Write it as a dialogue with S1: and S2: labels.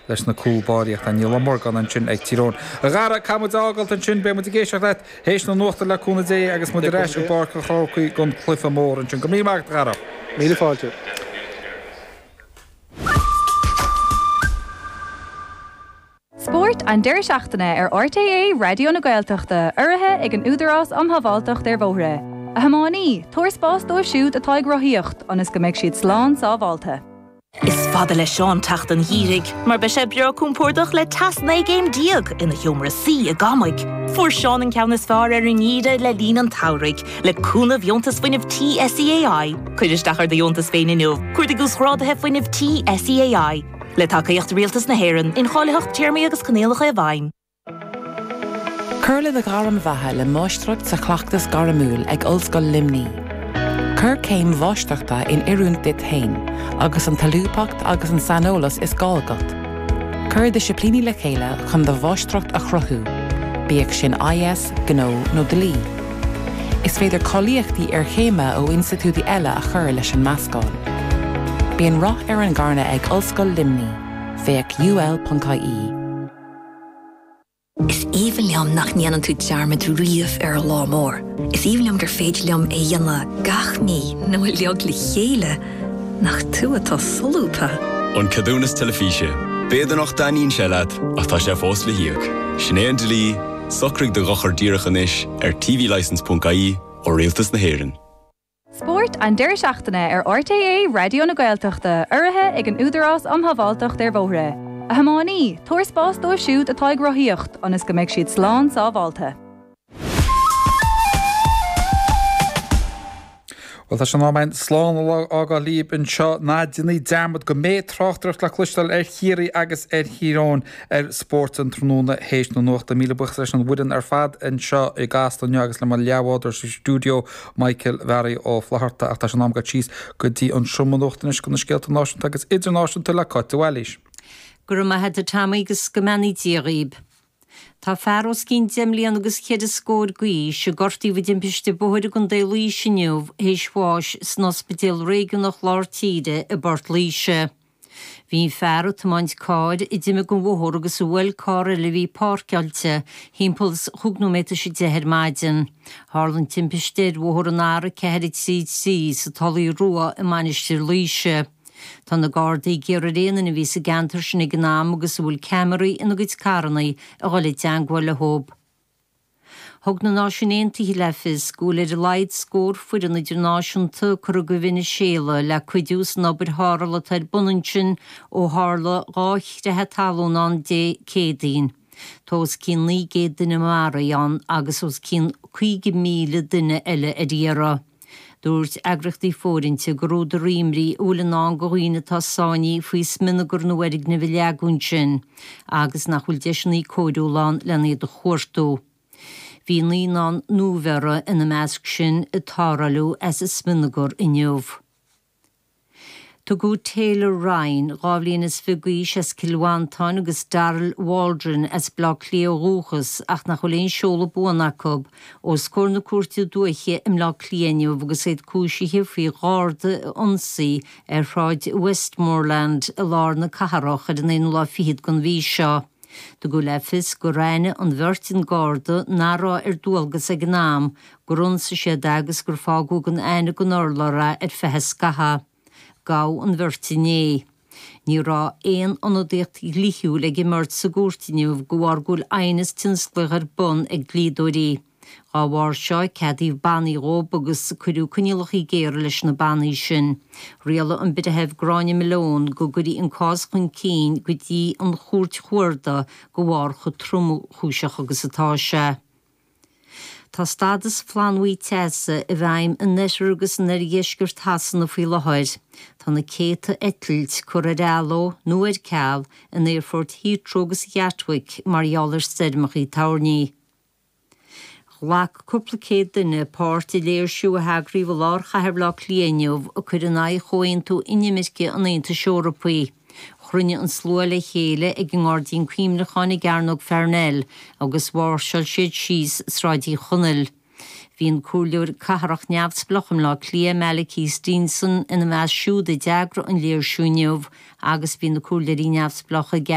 S1: leis na cúl báirí ach tá Niall Ó Morgáin ansin ag Tír Eoghain. A Dhara, caithfidh muid a fhágáilt ansin, beidh muid ag éisteacht leat théis na nuachta le cúnamh Dé agus muid ar ais i bPáirc an Chrócaigh don chluiche mór ansin. Go raibh míle maith agat, a Dhara.
S2: Míle fáilte.
S3: Spórt an deireadh seachtaine ar RTÉ Raidió na Gaeltachta, urraithe ag an Údarás um Shábháilteacht ar Bhóithre. A thiománaí, tabhair spás dóibh siúd atá ag rothaíocht, ionas go mbeidh siad slán sábháilte.
S4: Is fada le Seán teacht an gheimhridh, mar beidh sé breá compordach le teas 19 gcéim ina sheomra suí i gCamaigh. Fuair Seán an ceann is fearr ar an ngeimhreadh le linn an tsamhraidh, le cúnamh Dheontas Fuinnimh Tí SEAI. Cuir isteach ar do dheontas féin inniu, cuardaigh Uasghráduithe Fuinnimh Tí SEAI. Le tacaíocht Rialtas na hÉireann, incháilitheacht, téarmaí agus coinníollacha i bhfeidhm.
S5: Cuir le do ghairm bheatha le Máistreacht sa Chleachtas Gairmiúil ag Ollscoil Luimnigh. Cuir céim mháistreachta in oiriúint duit féin agus an tsolúbthacht agus an saineolas is gá agat. Cuir disciplíní le chéile chun do mháistreacht a chruthú, bíodh sin IS, Gnó nó Dlí. Is féidir cáilíochtaí iarchéime ó institiúidí eile a chur leis an meascán. Bíonn rath ar an nGairme ag Ollscoil Luimnigh, féach ul.ie.
S6: Is aoibhinn liom nach ndéanann tú dearmad riamh ar an lá mór. Is aoibhinn liom gur féidir liom é a dhéanamh gach mí nó uilig le chéile. Nach tú atá solúbtha!
S7: An Ceadúnas Teilifíse. B'fhéidir nach dtaitníonn sé leat, ach tá sé fós le híoc. Sin é an dlí, socraigh do dhochar díreach anois ar tvlicence.ie ó Rialtas na hÉireann.
S3: Spórt an deireadh seachtaine ar RTÉ Raidió na Gaeltachta, urraithe ag an Údarás um Shábháilteacht ar Bhóithre. A thiománaí, tabhair spás dóibh siúd atá ag rothaíocht, ionas go mbeidh siad slán sábháilte.
S1: Bhuel, tá sé in am againn slán a fhágáil libh anseo. Ná déanaigí dearmad go mbeidh tráchtaireacht le cloisteáil ar Chiarraí agus ar Thír Eoghain ar Spórt an tráthnóna théis na nuachta. Míle buíochas leis an bhfoireann ar fad anseo i gCasla inniu agus le mo leathbhádóir sa stiúideo, Michael Bharry Ó Flatharta. Ach tá sé in am dul síos go dtí an seomra nuachta anois do na scéalta náisiúnta agus idirnáisiúnta le Cáit de Bhailís.
S8: Go raibh maith agat a Tommy agus go mbeannaí Dia dhaoib. Tá fear os cionn deich mbliana agus cheithre scór d'aois, a gortaíodh i dtimpiste bóthair i gContae Laoise inniu, théis bháis san Ospidéal Réigiúnach Lár Tíre i bPort Laoise. Bhí an fear ag tiomáint cairr a d'imigh den bhóthar agus a bhuail carr eile a bhí páirceáilte thimpeall is chúig nóiméad tar éis a 10 ar maidin. Tharla an timpiste ar bhóthar an R433 sa Tulaigh Rua i Mainistir Laoise. Tá na Gardaí ag iarraidh ar aon duine a bhí sa gceantar sin ag an am agus a bhfuil ceamaraí ina gcuid carranna a dhul i dteangmháil leo. Thug na Náisiúin Aontaithe le fios go bhfuil ar a laghad scór foireann idirnáisiúnta curtha go Veiniséala le cuidiú san obair tharrthála atá ar bun ansin ó tharla 2 chreathadh talún ann Dé Céadaoin. Tá os cionn 900 duine maraithe ann agus os cionn 50,000 duine eile ar iarraidh. Dúirt eagraíochtaí fóirithinte gur údar imní a bhfuil i ndán do dhaoine atá sáinnithe faoi smionagar na bhfoirgneamh a leagadh ansin agus nach bhfuil deiseanna cóiriúla ann lena iad a chuartú. Bhí naíonán nuabheirthe ina measc sin a tarrtháladh as an smionagar inniu. Tugadh Taylor Ryan, 22 bhliain is d'aois as Cill Mhantáin agus Daryl Waldron as Baile Átha Cliath ó dhúchas ach nach bhfuil aon seoladh buan acu, os comhair na Cúirte Dúiche i mBleá Cliath inniu agus iad cúisithe faoi gharda a ionsaí ar Shráid Westmoreland i lár na cathrach ar an aonú lá fichead den mhí seo. Tugadh le fios gur aithin an bheirt an garda nach raibh ar dualgas ag an am, gur ionsaigh siad é agus gur fágadh gan aithne den urlár é ar feadh scaithimh. Gabhadh an bheirt inné. Ní raibh aon ionadaíocht dhlíthiúil ag an mbeirt sa gcúirt inniu de bharr go bhfuil aighneas tionsclaíoch ar bun ag dlíodóirí. Dá bharr seo, ceadaíodh bannaí dhóibh agus cuireadh coinníollacha géara leis na bannaí sin. Rialaigh an Breitheamh Gráinne Malone go gcuirfí an cás chun cinn go dtí an Chúirt Chuarda de bharr chomh tromchúiseach agus atá sé. Tá stádas flannbhuí teasa i bhfeidhm in oirthear agus in oirdheisceart Shasana faoi láthair. Tá na céadta eitilt curtha ar athló nó ar ceal in aerfoirt Heathrow agus Gatwick mar gheall ar stoirmeacha toirní. Ghlac cúpla céad duine páirt i léirsiú a heagraíodh i lár chathair Bhaile Átha Cliath inniu ag cur in aghaidh chomhaontú inimirce an Aontais Eorpaigh. Chruinnigh an slua le chéile ag an nGairdín Cuimhneacháin i gCearnóg Pharnell agus mháirseáil siad síos Sráid Uí Chonaill. Bhí an Comhairleoir Cathrach neamhspleách i mBleá Cliath, Malachy Steenson, ina measc siúd a d'eagraigh an léirsiú inniu agus bhí na Comhairleoirí neamhspleácha Gavin.